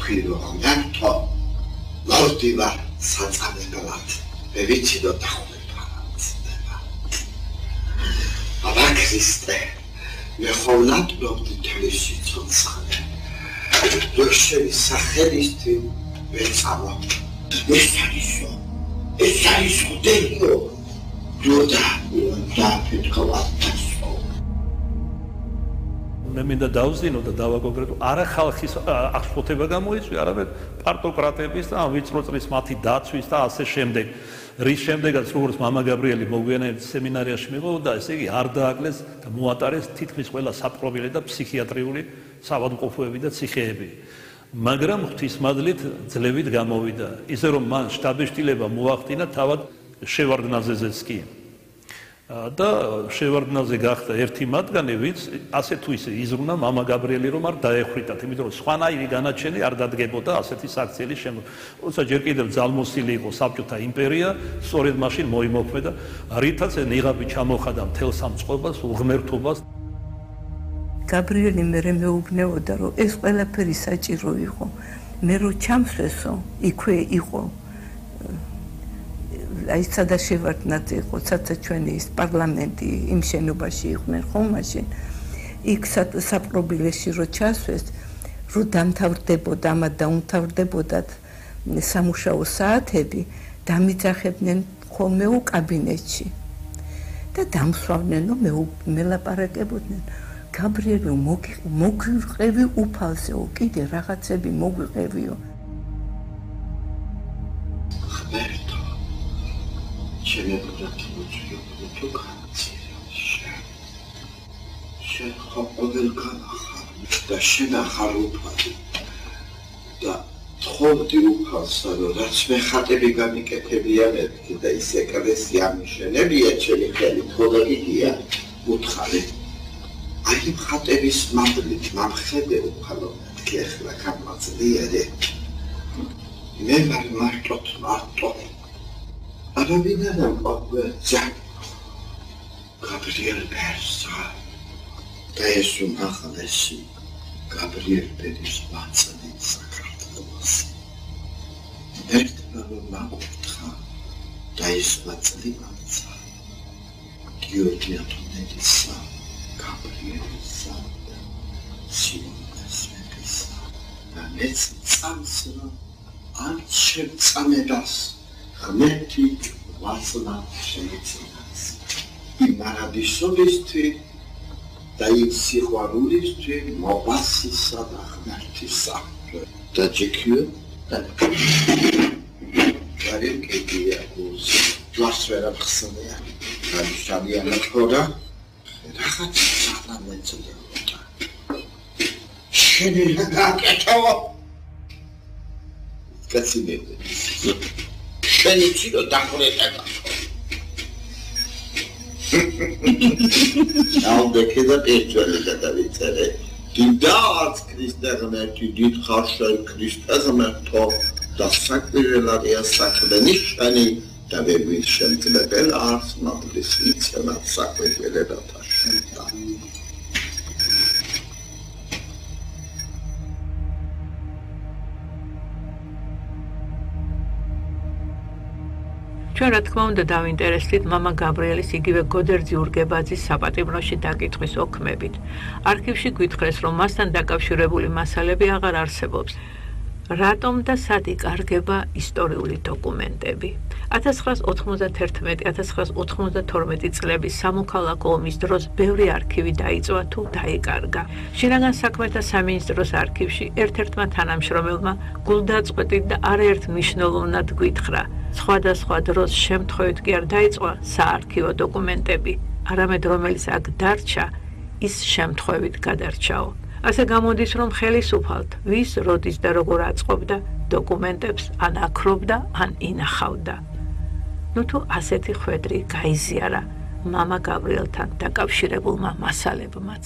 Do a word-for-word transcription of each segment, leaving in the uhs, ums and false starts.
თქვი რომ მერტო ლორდივა საწამებლად მე ვიცი რომ დახურება ცდება აბა ქრისტე მე ხოლმე ვდობდი თელი სიცოცხლე რომ შენი სახელისთვის ვეცამა ეს არისო ეს არისო დეიო ჯოდა და ფეთქავატასო მე მინდა დავზინო და დავაკონკრეტო არა ხალხის აღშფოთება გამოიწვია, არამედ პარტოკრატების და ვიწრო წრის მათი დაცვის და ასე შემდეგ. რის შემდეგაც როგორც მამა გაბრიელი მოგვიანებით სემინარიაში მიყო და ესე იგი არ დააკლეს და მოატარეს თითქმის ყველა საპყრობილე და ფსიქიატრიული საავადმყოფოები და ციხეები. მაგრამ ღვთისმადლით ძლევით გამოვიდა. ისე რომ მან შტაბეშტილება მოახდინა თავად შევარდნაძეზეც კი. და შევარდნაძე გახდა ერთი მათგანი, ვინც ასე თუ ისე იზრუნა მამა გაბრიელი რომ არ დაეხვიტათ, იმიტომ რომ სხვანაირი განაჩენი არ დადგებოდა ასეთი საქციელის შემდგომ. როცა ჯერ კიდევ ძალმოსილი იყო საბჭოთა იმპერია, სწორედ მაშინ მოიმოქმედა, რითაც ნიღაბი ჩამოხადა მთელ სამწყობას, უღმერთობას. გაბრიელი მერე მეუბნეოდა, რომ ეს ყველაფერი საჭირო იყო. მე რო ჩამსვესო, იქვე იყო აი სადა შევარდნაძე იყო, საცა ჩვენი ის პარლამენტი იმ შენობაში იყვნენ ხო მაშინ. იქ საპყრობილეში რო ჩასვეს, რო დამთავრდებოდა, ამა დაუმთავრდებოდათ სამუშაო საათები, დამიძახებდნენ ხოლმე კაბინეტში. და დამსვავდნენ, რომ მელაპარაკებოდნენ. გაბრიელი მოგვიყევი უფალზეო, კიდე რაღაცები მოგვიყევიო. შემებრდათ მოწვიებული თუ განცირებშა. შენ ხოპოდელ განახარ და შენ ახარ უფალი და თხოვდი უფალსა, რომ რაც მე ხატები გამიკეთებია მეთქი და ის ეკლესია მიშენებია ჩემი ხელით, ხო და გიგია უთხარი. აი იმ ხატების მადლით მამხედე უფალო მეთქი ახლა გამაძლიერე. მე ვარ მარტოთ მარტო აბა ვინაიდან ყოფნა გაბრიელ პერსა და ეს უმაღლესი გაბრიელ პერის ბაცანი საქართველოს ერთმა რომ მაკურთხა და ეს ბაცანი ბაცა გიორგი ათონელისა გაბრიელისა და სიმონესისა და მეც წამსრა არ შემწამედას ღმერთი ვაცნა შემეცინას. იმ მარადისობისთვის და იმ სიყვარულისთვის მოვასისა და ღმერთისა. და ჯიქიო და გარემ კედია გულს ჯვარს ვერ ახსნია. გადიშალია ნახორა. რაღაც სანამეცოდა. შენი გაკეთო. კაცინები. შენი ჩირო დახურეთება. აუდექე და პერჩველი გადავიწერე. დიდაც ქრისტე ღმერთი, დიდ ხარშენ ქრისტე ღმერთო და საკვირველარია საქმენი შენი და ვერის შემწმებელ არს მადლის მიცემად საკვირველებათა შენთან. ჩვენ რა თქმა უნდა დავინტერესდით მამა გაბრიელის იგივე გოდერძი ურგებაძის საპატიმროში დაკითხვის ოქმებით. არქივში გვითხრეს, რომ მასთან დაკავშირებული მასალები აღარ არსებობს. რატომ და სად იკარგება ისტორიული დოკუმენტები? ათას ცხრაას ოთხმოცდათერთმეტი ათას ცხრაას ოთხმოცდათორმეტი წლების სამოქალაქო ომის დროს ბევრი არქივი დაიწვა თუ დაიკარგა. შინაგან საქმეთა სამინისტროს არქივში ერთ-ერთმა თანამშრომელმა გულდაწყვეტით და არაერთ მნიშვნელოვნად გვითხრა. სხვადასხვა დროს შემთხვევით კი არ დაიწყვა საარქივო დოკუმენტები, არამედ რომელიც აქ დარჩა, ის შემთხვევით გადარჩაო. ასე გამოდის, რომ ხელისუფალთ, ვის, როდის და როგორ აწყობდა დოკუმენტებს ან აქრობდა, ან ინახავდა. ნუ თუ ასეთი ხვედრი გაიზიარა მამა გაბრიელთან დაკავშირებულმა მასალებმაც.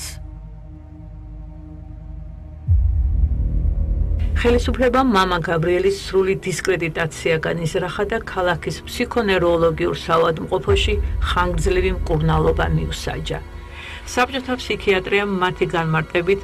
ხელისუფლებამ მამა გაბრიელის სრული დისკრედიტაცია განიზრახა და ქალაქის ფსიქონევროლოგიურ საავადმყოფოში ხანგრძლივი მკურნალობა მიუსაჯა. საბჭოთა ფსიქიატრიამ მათი განმარტებით